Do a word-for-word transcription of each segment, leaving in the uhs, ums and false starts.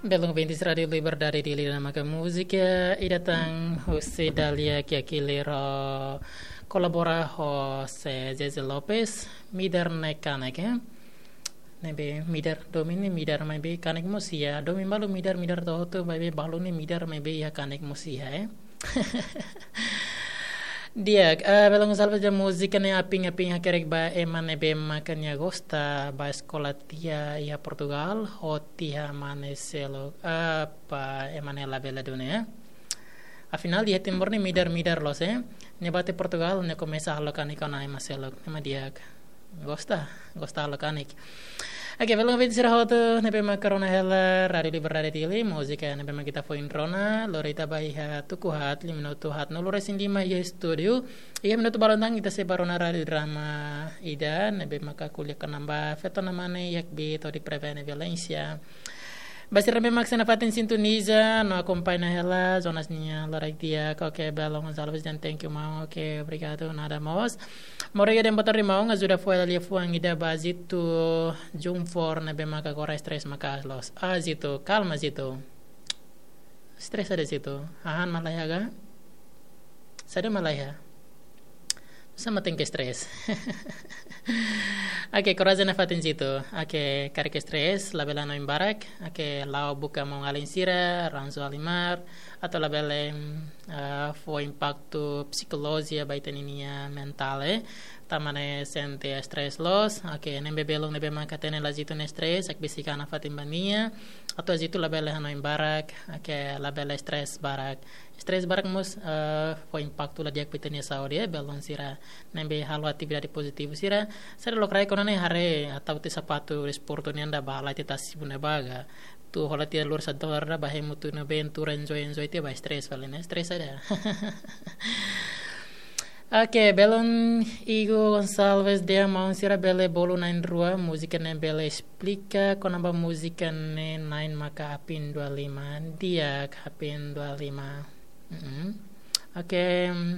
Belun ouvintes Rádiu Liberdade Dili, ida-ne'e maka múzika ida tan husi Dália Kiakili, ro kolabora ho Zezé Lopes, Midar ne'e Kanek, eh. Ne'ebé midar, domin ne'e midar, maibé kanek mós iha. Domin balu midar, midar to'o hotu, maibé balu ne'e midar, maibé iha kanek mós iha, eh. Di'ak, eh, belun salva ja múzika ne'e apin-apin hakerek ba ema ne'ebé maka nia gosta, ba eskola tiha iha Portugal, ho tiha mane seluk, eh, ba ema ne'e labele duni, eh. Afinál, iha Timor ne'e midar-midar loos, eh. Nia bá to'o Portugal, nia komesa halo kanek ona ema seluk, ema di'ak. Gosta, gosta halo kanek. Oke, belun ouvintes sira hotu ne'ebé maka rona hela Rádiu Liberdade Dili, múzika ne'ebé maka ita foin rona, lori ita ba iha tuku haat, liu minutu haatnulu-resin-lima iha estúdiu. Iha minutu balun tan ita sei bá rona rádiu drama ida ne'ebé maka ko'alia kona-ba feto-nia mane iha kbiit hodi prevene violénsia. Ba sira ne'ebé mak sei nafatin sintoniza no akompaña hela Jonas nia loraik di'ak. Oke, belun Gonçalves, dan thank you maun. Oke, obrigadu, nada mós. Maun Rega, dehan boa tarde maun, ajuda fó hela liafuan ida ba Zito Jumfor ne'ebé maka agora stress maka'as loos. Ah, Zito, kalma, Zito. Stress saida, Zito? Hahán mak laiha ka? Saida mak laiha? Sama tenke stress. Oke, korajen nafatin Zito. Oke, karik stress, labele hanoin barak. Oke, la'o buka maun-alin sira, Ranzo Alimar, atu labele, mm, ah, fó impaktu psikolojia ba ita-nia mentál, eh. Tanba ne'e sente stress loos. Oke, ne'ebé belun ne'ebé maka hatene Zito nia stress, hakbesik an nafatin ba nia. Atu Zito labele hanoin barak, oke, labele stress barak. Stress barak mós, eh, fó impaktu la di'ak ba ita-nia saúde, eh, belun sira. Ne'ebé halo atividade pozitivu sira. Sira lokraik ona ne'e haree, hatau tiha sapatu desportu nian ida ba, la ita tasi bune baga. Atu hola tiha lurus atu hola ba hemu atu ne'ebé atu enjoy, enjoy tiha ba stress fali ne'e, stress saida. Oke, belun Igo Gonçalves dehan maun sira bele bolu na'in-rua, múzika ne'e bele esplika kona-ba múzika ne'e na'in maka apin dua lima, di'ak apin dua lima. Mm-mm. Oke, mm,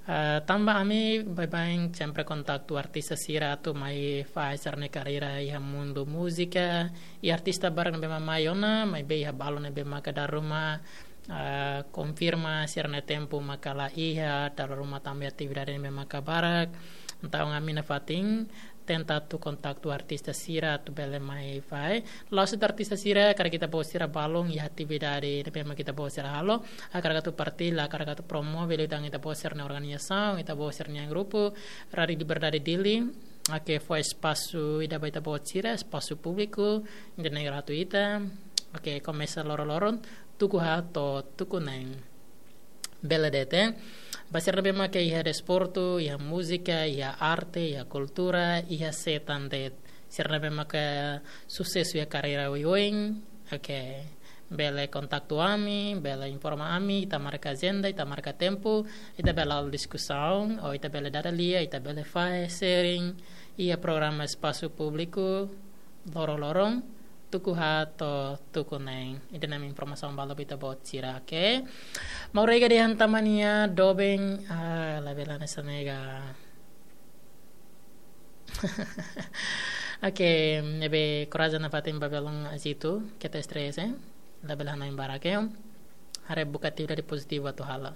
eh, tanba ami baibain sempre kontaktu artista sira atu mai fahe sira-nia karreira iha mundu múzika, i artista barak ne'ebé mak mai ona, maibé iha balu ne'ebé maka dala ruma, ah, konfirma sira-nia tempu maka la iha, dala ruma tanba atividade ne'ebé maka barak. Entaun ami nafatin tenta atu kontaktu artista sira atu bele mai fahe. La'ós de'it artista sira, karik ita-boot sira balun iha atividade ne'ebé mak ita-boot sira halo, hakarak atu partilla, hakarak atu promove liután ita-boot sira-nia organizasaun, ita-boot sira-nia grupu, Rádiu Liberdade Dili, oke, fó espasu ida ba ita-boot sira, espasu públiku, ida-ne'e gratuita. Oke, komesa loron-loron, tuku haat to'o tuku neen. Bele de'it, eh. Ba sira ne'ebé maka iha desportu, iha múzika, iha arte, iha kultura, iha sé tan de'it. Sira ne'ebé maka susesu iha karreira oioin, oke. Bele kontaktu ami, bele informa ami, ita marka ajenda, ita marka tempu, ita bele halo diskusaun, ou ita bele dada lia, ita bele fahe sharing iha programa espasu públiku, loron-loron, tuku haat to'o tuku neen. Ida-ne'e mak informasaun balu ba ita-boot sira, oke? Maun Rega dehan tanba nia doben, ah, labele hanesan ne'e ka. Oke, ne'ebé korajen nafatin ba belun Zito, keta stress, eh? Labele hanoin barak, eh? Haree buka atividade pozitivu atu halo.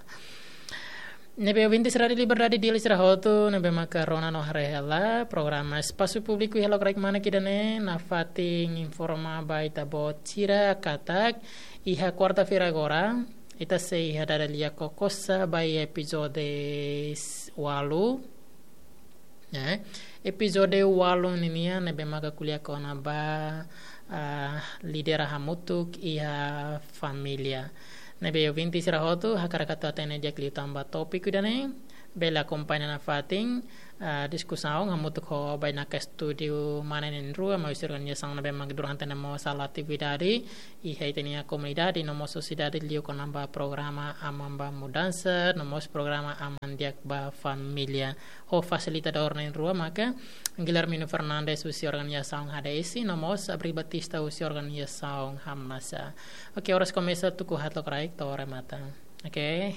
Ne'ebé ouvintes Rádiu Liberdade Dili sira hotu, ne'ebé maka rona no haree hela programa espasu públiku iha lokraik mane ida-ne'e, nafatin informa ba ita-boot sira katak iha kuarta-feira agora, ita sei iha dada lia kokosa ba iha epizode s-, ualu. Ya, epizode ualu ninian ne'ebé maka ko'alia kona-ba, ah, lidera hamutuk iha família. Ne'ebé ouvintes sira hotu, hakarak atu hatene di'ak liután ba tópiku ida-ne'e, bele akompaña nafatin, ah, diskusaun hamutuk ho bainaka estúdiu mane na'in-rua, mai husi organizasaun ne'ebé mak durante ne'e mós halo atividade iha ita-nia komunidade no mós sosiedade liu kona-ba programa Aman ba Mudansa, no mós programa Aman Di'ak ba Família. Ho fasilitadór na'in-rua maka Guilhermino Fernandes husi organizasaun H D S, no mós Abril Batista husi organizasaun Hamnasa. Oke, oras komesa tuku haat lokraik to'o remata. Oke.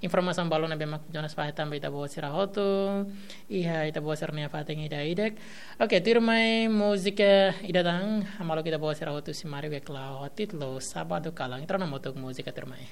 Informasaun balun ne'ebé mak Jonas fahe tan ba ita-boot sira hotu iha ita-boot sira-nia fatin ida-idak. Oke, tuirmai múzika ida tan, hamaluk ita-boot sira hotu simarik wek lao ho títulu Sábado Kalan. Ita rona hamutuk múzika tuirmai.